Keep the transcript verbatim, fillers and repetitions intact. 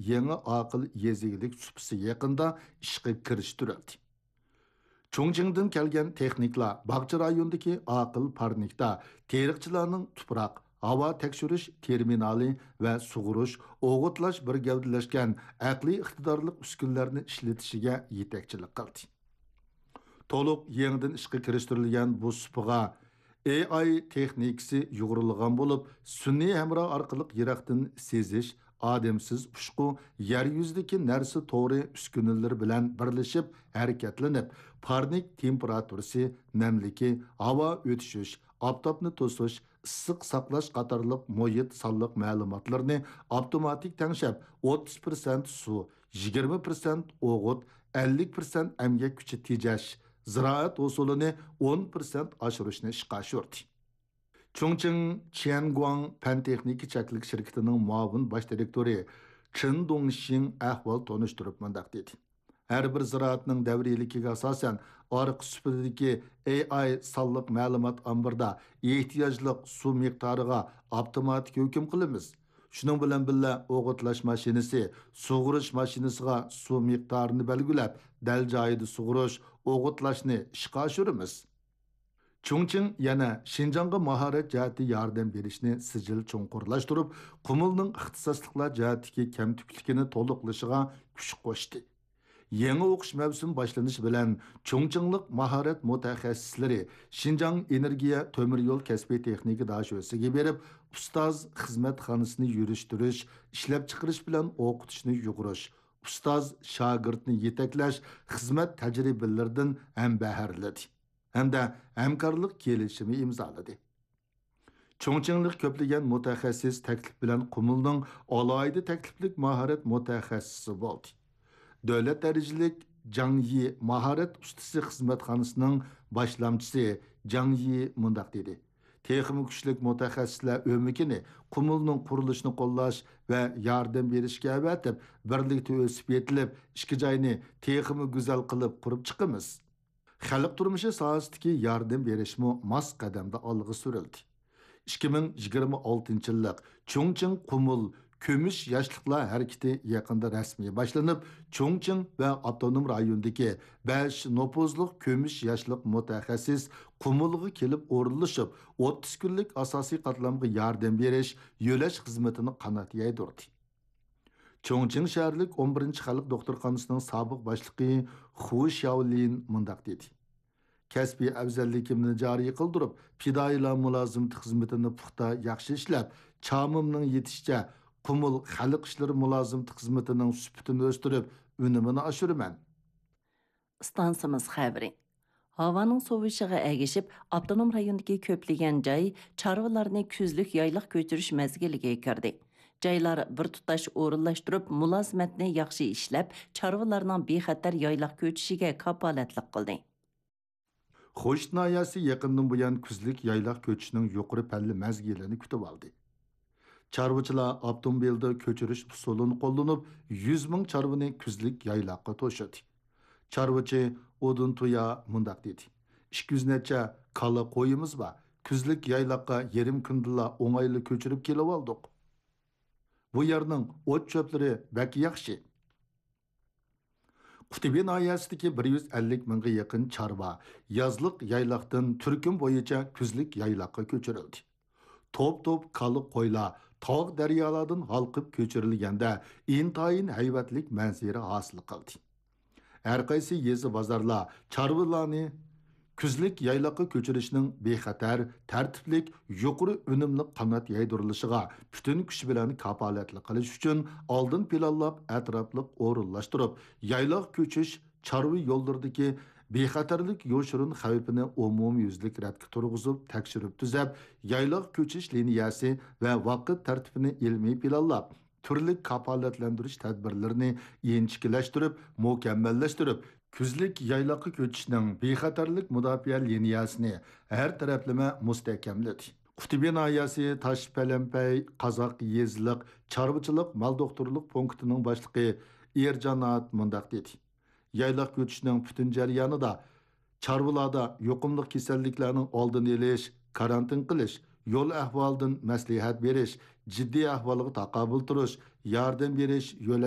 يېڭى ئاقىل يېزا ئىگىلىك سۇپىسى يېقىندا ئىشقا كىرىشتۈرۈلدى. چۇڭچىڭدىن كەلگەن تېخنىكلار باغچە رايونىدىكى ئاقىل پارنىكتا تېرىقچىلارنىڭ تۇپراق، ھاۋا تەكشۈرۈش تېرمىنالى ۋە سۇغۇرۇش، ئوغۇتلاش بىر گەۋدىلەشكەن ئەقلىي ئىقتىدارلىق ئۈسكۈنىلەرنى ئىشلىتىشىگە يېتەكچىلىك قىلدى. تولۇق يېڭىدىن ئىشقا كىرىشتۈرۈلگەن بۇ سۇپىغا ئېي ئاي تېخنىكىسى يۇغۇرۇلغان بولۇپ، سۈنئىي ھەمراھ ئارقىلىق يىراقتىن سېزىش، ئادەمسىز ئۇچقۇ، يەر يۈزىدىكى نەرسە تورى ئۈسكۈنىلىرى بىلەن بىرلىشىپ ھەرىكەتلىنىپ، پارنىك تېمپېراتۇرىسى، نەملىكى، ھاۋا ئۆتۈشۈش، ئاپتاپنى توسۇش، ئىسسىق ساقلاش قاتارلىق مۇھىت سانلىق مەلۇماتلىرىنى ئاپتوماتىك تەڭشەپ، ئوتتۇز پىرسەنت سۇ، يىگىرمە پىرسەنت ئوغۇت، ئەللىك پىرسەنت ئەمگەك كۈچى تېجەش، زىرائەت ھوسۇلىنى ئون پىرسەنت ئاشۇرۇشنى ئىشقا ئاشۇردى. چۇڭچىڭ چيەنگۇاڭ پەن تېخنىكا چەكلىك شىركىتىنىڭ مۇئاۋىن باش دىرېكتورى چېن دۇڭشىڭ ئەھۋال تونۇشتۇرۇپ مۇنداق دېدى: ھەر بىر زىرائەتنىڭ دەۋرىيلىكىگە ئاساسەن، ئارقا سۇپىدىكى ئېي ئاي سانلىق مەلۇمات ئامبىرىدا ئېھتىياجلىق سۇ مىقدارىغا ئاپتوماتىك ھۆكۈم قىلىمىز. شۇنىڭ بىلەن بىللە، ئوغۇتلاش ماشىنىسى سۇغۇرۇش ماشىنىسىغا سۇ مىقدارىنى بەلگىلەپ، دەل جايىدا سۇغۇرۇش، ئوغۇتلاشنى ئىشقا ئاشۇرىمىز. چۇڭچىڭ يەنە شىنجاڭغا ماھارەت جەھەتتە ياردەم بېرىشنى سىجىل چوڭقۇرلاشتۇرۇپ، قۇمۇلنىڭ ئىختىساسلىقلار جەھەتتىكى كەمتۈكلۈكىنى تولۇقلىشىغا كۈچ قوشتى. يېڭى ئوقۇش مەۋسۇمى باشلىنىشى بىلەن، چۇڭچىڭلىق ماھارەت مۇتەخەسسىسلىرى شىنجاڭ ئېنېرگىيە تۆمۈر يول كەسپىي تېخنىكا داشۆسىگە بېرىپ، ئۇستاز خىزمەتخانىسىنى يۈرۈشتۈرۈش، ئىشلەپچىقىرىش بىلەن ئوقۇتۇشنى يۇغۇرۇش، ئۇستاز شاگىرتنى يېتەكلەش خىزمەت تەجرىبىلىرىدىن ھەمبەھىرلىدى ھەمدە ھەمكارلىق كېلىشىمى ئىمزالىدى. چۇڭچىڭلىق كۆپلىگەن مۇتەخەسسىس تەكلىپ بىلەن قۇمۇلنىڭ ئالاھىدە تەكلىپلىك ماھارەت مۇتەخەسسىسى بولدى. دۆلەت دەرىجىلىك جاڭ يى ماھارەت ئۇستىسى خىزمەتخانىسىنىڭ باشلامچىسى جاڭ يى مۇنداق دېدى: تېخىمۇ كۈچلۈك مۇتەخەسسىسلەر ئۆمىكىنى قۇمۇلنىڭ قۇرۇلۇشىنى قوللاش ۋە ياردەم بېرىشكە ئەۋەتىپ، بىرلىكتە ئۆسۈپ يېتىلىپ، ئىككى جاينى تېخىمۇ گۈزەل قىلىپ قۇرۇپ چىقىمىز. خەلق تۇرمۇشى ساھەسىدىكى ياردەم بېرىشمۇ ماس قەدەمدە ئالغا سۈرۈلدى. ئىككى مىڭ يىگىرمە ئالتىنچى يىللىق چۇڭچىڭ قۇمۇل كۈمۈش ياشلىقلار ھەرىكىتى يېقىندا رەسمىي باشلىنىپ، چۇڭچىڭ ۋە ئاپتونوم رايوندىكى بەش نوپۇزلۇق كۈمۈش ياشلىق مۇتەخەسسىس قۇمۇلغا كېلىپ ئورۇنلىشىپ، ئوتتۇز كۈنلۈك ئاساسىي قاتلامغا ياردەم بېرىش، يۆلەش خىزمىتىنى قانات يايدۇردى. چۇڭچىڭ شەھەرلىك ئون بىرىنچى خەلق دوختۇرخانىسىنىڭ سابىق باشلىقى خۇ شياۋلىن مۇنداق دېدى: كەسپىي ئەۋزەللىكىمنى جارى قىلدۇرۇپ، پىدائىيلار مۇلازىمىتى خىزمىتىنى پۇختا ياخشى ئىشلەپ، چامىمنىڭ يېتىشىچە قۇمۇل خەلق ئىشلىرى مۇلازىمىتى خىزمىتىنىڭ سۈپىتىنى ئۆستۈرۈپ، ئۈنۈمىنى ئاشۇرىمەن. ئىستانسىمىز خەۋىرى. ھاۋانىڭ سوۋۇشىغا ئەگىشىپ، ئاپتونوم رايوندىكى كۆپلىگەن جاي چارۋىلارنى كۈزلۈك يايلاق كۆچۈرۈش مەزگىلىگە كىردى. جايلار بىر تۇتاش ئورۇنلاشتۇرۇپ، مۇلازىمەتنى ياخشى ئىشلەپ، چارۋىلارنىڭ بىخەتەر يايلاق كۆچۈشىگە كاپالەتلىك قىلدى. خوشۇت ناھىيەسى يېقىندىن بۇيان كۈزلۈك يايلاق كۆچۈشنىڭ يۇقىرى پەللە مەزگىلىنى كۈتۈۋالدى. چارۋىچىلار ئاپتوموبىلدا كۆچۈرۈش ئۇسۇلىنى قوللىنىپ، يۈز مىڭ چارۋىنى كۈزلۈك يايلاققا توشۇدى. چارۋىچى ئۇدۇن تۇيا مۇنداق دېدى: ئىككى يۈز نەچچە كالا قويىمىز بار. كۈزلۈك يايلاققا يېرىم كۈندىلا ئوڭايلا كۆچۈرۈپ كېلىۋالدۇق. بۇ يەرنىڭ ئوت-چۆپلىرى بەك ياخشى. قۇتۇبى ناھىيەسىدىكى بىر يۈز ئەللىك مىڭغا يېقىن چارۋا يازلىق يايلاقتىن تۈركۈم بويىچە كۈزلۈك يايلاققا كۆچۈرۈلدى. توپ-توپ كالا قويلار تاغ دەريالاردىن ھالقىپ كۆچۈرۈلگەندە، ئىنتايىن ھەيۋەتلىك مەنزىرە ھاسىل قىلدى. ھەرقايسى يېزا بازارلار چارۋىلارنى كۈزلۈك يايلاققا كۆچۈرۈشنىڭ بىخەتەر، تەرتىپلىك، يۇقىرى ئۈنۈملۈك قانات يايدۇرۇلۇشىغا پۈتۈن كۈچ بىلەن كاپالەتلىك قىلىش ئۈچۈن ئالدىن پىلانلاپ، ئەتراپلىق ئورۇنلاشتۇرۇپ، يايلاق كۆچۈش، چارۋا يوللىرىدىكى بىخەتەرلىك يوشۇرۇن خەۋپىنى ئومۇميۈزلۈك رەتكە تۇرغۇزۇپ، تەكشۈرۈپ تۈزەپ، يايلاق كۆچۈش لىنىيەسى ۋە ۋاقىت تەرتىپىنى ئىلمىي پىلانلاپ، تۈرلۈك كاپالەتلەندۈرۈش تەدبىرلىرىنى ئىنچىكىلەشتۈرۈپ، مۇكەممەللەشتۈرۈپ، كۈزلۈك يايلاققا كۆچۈشنىڭ بىخەتەرلىك مۇداپىئە لىنىيەسىنى ھەر تەرەپلىمە مۇستەھكەملىدى. قۇتۇبى ناھىيەسى تاشپەلەمپەي قازاق يېزىلىق چارۋىچىلىق مال دوختۇرلۇق پونكىتىنىڭ باشلىقى ئېرجانات مۇنداق دېدى: يايلاق كۆچۈشنىڭ پۈتۈن جەريانىدا چارۋىلاردا يۇقۇملۇق كېسەللىكلەرنىڭ ئالدىنى ئېلىش، كارانتىن قىلىش، يول ئەھۋالىدىن مەسلىھەت بېرىش، جىددىي ئەھۋالغا تاقابىل تۇرۇش، ياردەم بېرىش، يۆلەش